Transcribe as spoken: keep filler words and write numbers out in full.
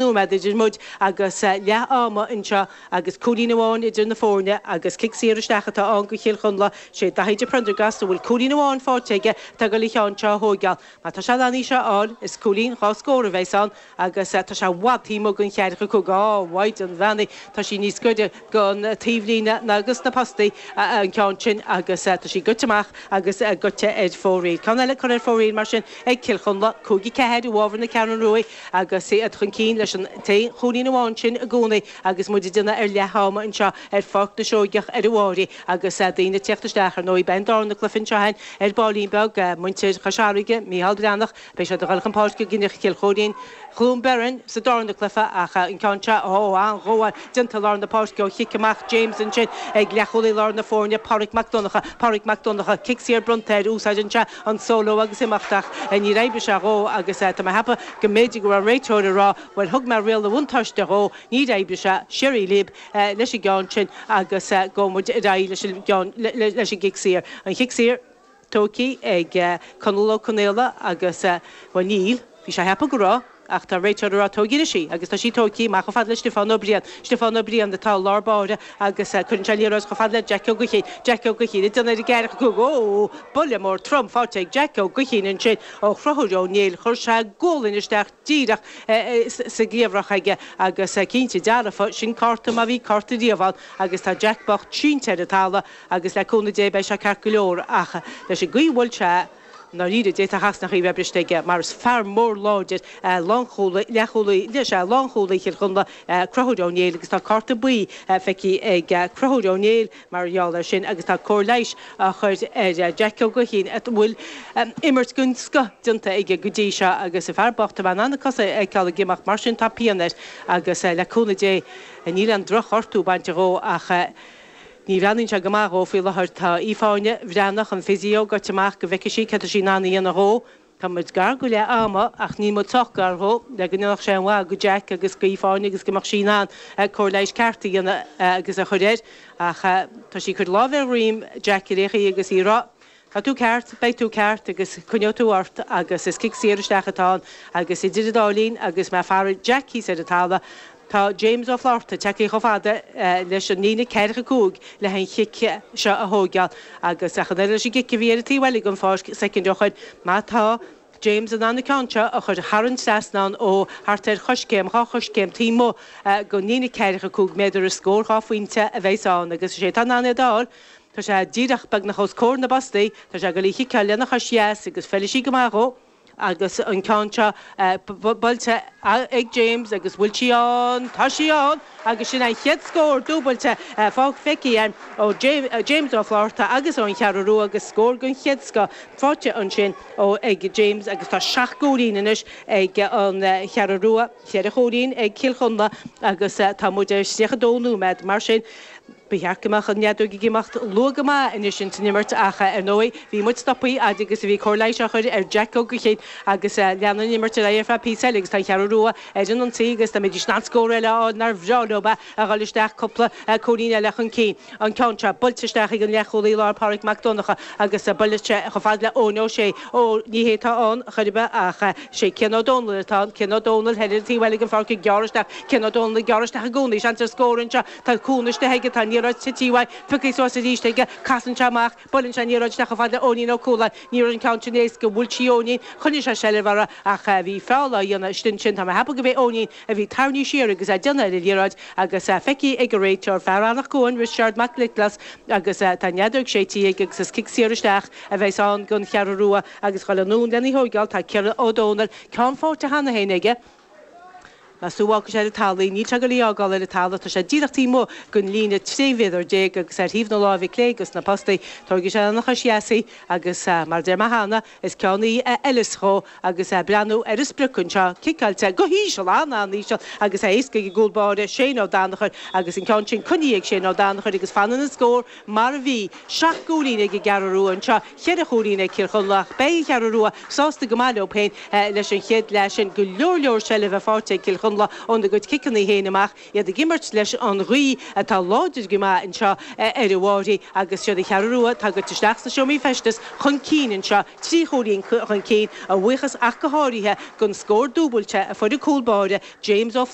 Nóiméad idir muid agus leath ama anseo agus cúilín amháin idir na foirne agus cic saor isteach atá ann go Chill Chonla. Sé Daithí de Prendergast a bhfuil cúilín amháin faighte aige atá ag dul an ceann seo a thóigeáil. Má tá sé in ann í seo a fháil, is cúilín dhá scór a bheas ann agus tá sé i bhfad taobh amuigh den cheathracha cúig. Á, mhaighdean bheannaithe, tá sí níos gaire don taobhlíne ná dos na postaí an ceann sin agus tá sí goite amach agus goite ar fóraoil. Ceann eile curtha ar fóraoil mar sin ag Cill Chonla, cúig a ceathair i bhfabhar na Ceathrún Rua agus iad chun cinn leis an t-aon chúilín amháin sin i gcónaí agus muid ag déanamh ar leath ama anseo ar Pháirc na Seoigeach ar an Bháirí agus daoine ag teacht isteach. Ar ndóigh, beidh an darna cluiche anseo againn ar baillín beag, muintir Chois Fharraige, Mícheál Breathnach, beidh siad ag dul chun páirce i gcoinne Chill Chóirín, Chluain Bheirn sa darna cluiche ach an ceann seo, ó, an-ghabháil déanta i lár na páirce ó chic amach James ansin ag leathchúlaí lár na foirne, Pádraig Mac Donncha. Pádraig Mac Donncha, cic saor bronnta air, úsáideann sé an solo agus imeacht ach níor oibrigh sé dhó agus tá mé ag ceapadh go mb'fhéidir go raibh an réiteoir ag rá, bhuel thug mé riail an bhuntáiste dhó, níor oibrigh sé, siar libh leis an gceann sin agus gabhfaidh muid ar aghaidh leis an gceann, leis an gcic saor. An chic saor tógtha ag Conall Ó Conaola agus, bhuel níl, bhí sé ag ceapadh go raibh ach tá an réiteoir ag rá tóg anois í agus tá sí tógtha amach chomh fada le Stiofán Ó Briain. Stiofán Ó Briain atá i lár báire agus cuireann sé an liathróid chomh fada le Jack Ó Gaoithín. Jack Ó Gaoithín ag déanamh ar an gceathracha cúig. Ó! Buille mór trom faighte ag Jack Ó Gaoithín ansin ó Chonchúr Ó Néill. Chuir sé gualainn isteach díreach sa gcliabhrach aige agus cinnte dearfa, sin cárta má bhí cárta riamh ann agus tá Jack bocht sínte ar an talamh agus le cúnamh Dé beidh sé ceart go leor ach leis an gcaoi a bhuail sé i ndáiríre d'fhéadfadh a chasnachaí bheith briste aige mar is fear mór láidir é lánchúlaí, leathchúlaí, is ea, lánchúlaí Chill Chonla, Conchúr Ó Néill agus tá cárta buí feicthe ag Conchúr Ó Néill mar gheall air sin agus tá cóir leighis á chur ar Jack Ó Gaoithín a bhfuil imirt den scoth déanta aige go dtí seo agus an fear bocht, tá mé in ann na cosa a fheiceáil ag imeacht mar sin tá pian air agus le cúnamh Dé níl aon drochghortú bainte dhó ach ní bhreathnaíonn sé go maith dhó faoi láthair. Tá Aoife Áine Bhreathnach, an physio, goite amach go bhfeicfidh sí céard tá sí in ann a dhéanamh dhó. Tá muid gar go leath ama ach níl muid sách gar dhó le go ndéanfadh sé an mhaith go Jack agus go Aoife Áine agus go mbeadh sí in ann cóir leighis ceart a dhéanamh agus a chur air. Ach tá sí ag cur lámh ar dhroim Jack ar aon chaoi agus í ag rá, Tá tú ceart, beidh tú ceart agus coinneoidh tú ort agus is cic saor isteach atá ann agus idir an dá linn agus mé ag faire Jack thíos ar an talamh, tá James Ó Flátharta tagtha chomh fada leis an líne ceathracha cúig le an chic seo a thóigeáil agus ach an oiread leis an gcic a bhí ar an taobh eile den pháirc soicind ó shoin, má tá James in ann an ceann seo a chur thar an trasnán ó thart ar choiscéim, dhá choiscéim taobh amuigh den líne ceathracha cúig méadar is scór dhá phointe a bheas ann agus is é atá in ann é d'fháil. Tá sé díreach beagnach os comhair na bpostaí. Tá sé ag dul í chiceáil lena chois dheas agus feilfidh sí go maith dhó agus an ceann seo buailte ag James agus bhfuil sí ann? Tá sí ann agus sin an chéad scór dúbailte feicthe againn ó James Ó Flátharta agus ón Cheathrú Rua agus scór den chéad scoth faighte ansin ó ag James agus tá seacht gcúilín anois ag an Cheathrú Rua, ceithre chúilín ag Cill Chonla agus tá muid ar tríocha dó nóiméad mar sin. Ba cheart go mbeadh an fheadóg ag imeacht luath go maith anois ins an imirt ach, ar ndóigh, bhí muid stoptha fhad agus a bhí cóir leighis á chur ar Jack Ó Gaoithín agus leanann an imirt ar aghaidh ar feadh píosa eile agus tá an Cheathrú Rua ar an ionsaí agus dá mbeidís in ann scór eile a fháil nár bhreá leo é a dhul isteach cúpla cúilín eile chun cinn. An ceann seo buailte isteach ag an leathchúlaí láir Pádraig Mac Donncha agus buailte chomh fada le Eoin Ó Sé. Ó, ní hé atá ann chor ar bith ach sé Cian Ó Dónaill atá ann. Cian Ó Dónaill thoir ar an taobh eile den pháirc ag gearradh isteach. Cian Ó Dónaill ag gearradh isteach i gcónaí. Seans ar scór anseo. Tá cúnamh istigh aige, tá an liathróid tite uaidh, pioctha suas arís aige, casann sé amach, buaileann sé an liathróid isteach chomh fada le Eoinín Ó Cualáin. Ní raibh an ceann sin éasca, bhuail sí Eoinín, choinnigh sé seilbh uirthi ach bhí feall á dhéanamh istigh ansin. Tá mé ag ceapadh go b'é Eoinín a bhí tarraingthe siar agus é ag déanamh ar an liathróid agus feicthe ag an réiteoir, fear Eanach Cuain, Risteard Mac Niocláis agus tá an fheadóg séidte aige agus is cic saor isteach a bheas ann don Cheathrú Rua agus ag dul anonn lena thóigeáil tá Ciarán Ó Dónaill, ceann faighte cheana féin aige. Meas tú an bhfágfaidh sé ar an talamh í? Níl sé ag dul í fhágáil ar an talamh. Tá sé díreach taobh amuigh den líne trí mhéadar déag agus ar thaobh na láimhe clé dos na postaí. Tógfaidh sé lena chois dheas í agus, mar a deir mé cheana, is ceann í a fheileas dhó agus é ag breathnú ar an sprioc anseo, ciceáilte go híseal, an-an-íseal agus é éasca ag an gcúl báire, Shane Ó Danachair agus an ceann sin coinnithe ag Shane Ó Danachair agus fanann an scór mar a bhí. Seacht gcúilín ag an gCeathrú Rua anseo, cheithre chúilín ag Cill Chonla ach beidh an Cheathrú Rua sásta go maith leo féin leis an chéad leath sin. Go leor leor seilbhe faighte ag Cill Chonla. Chonla óna gcuid ciceanna féin amach iad ag imirt leis an ghaoth atá láidir go maith anseo ar an bhFáirche agus siad an Cheathrú Rua atá ag teacht isteach sna seomraí feistis chun cinn anseo trí chúilín chun cinn a bhuíochas ach go háirithe don scór dúbailte a fuair an cúl báire James Ó